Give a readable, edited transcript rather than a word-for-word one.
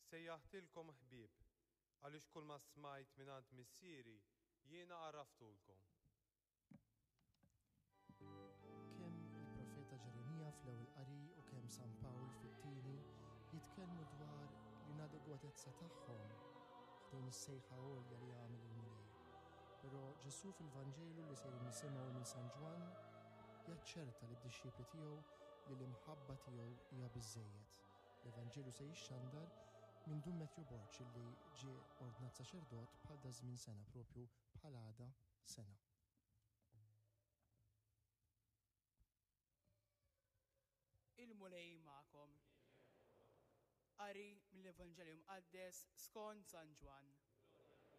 Sejjaħtilkom ħbieb, għaliex kulma smajt mingħand Missieri jiena għarraftulkom. Kemm il-profeta Ġeremija fl-ewwel qari u kemm San Pawl fit-tieni jitkellmu dwar l-inadegwatezza tagħhom ħdejn is-sejħa għolja li għamel il-Mulej. Però Ġesù fil-Vanġelu li sejrin nisimgħu minn San Ġwann jaċċerta lid-dixxipli tiegħu li l-imħabba tiegħu hija biżżejjed. L-Evanġelju se jixxandar minn Dun Matthew Borg li ġie ordnat saċerdot bħal daż-żmien sena, propju bħal għada sena. Il-Mulej magħkom. Qari mill-Evanġelju Mqaddes skont San Ġwann.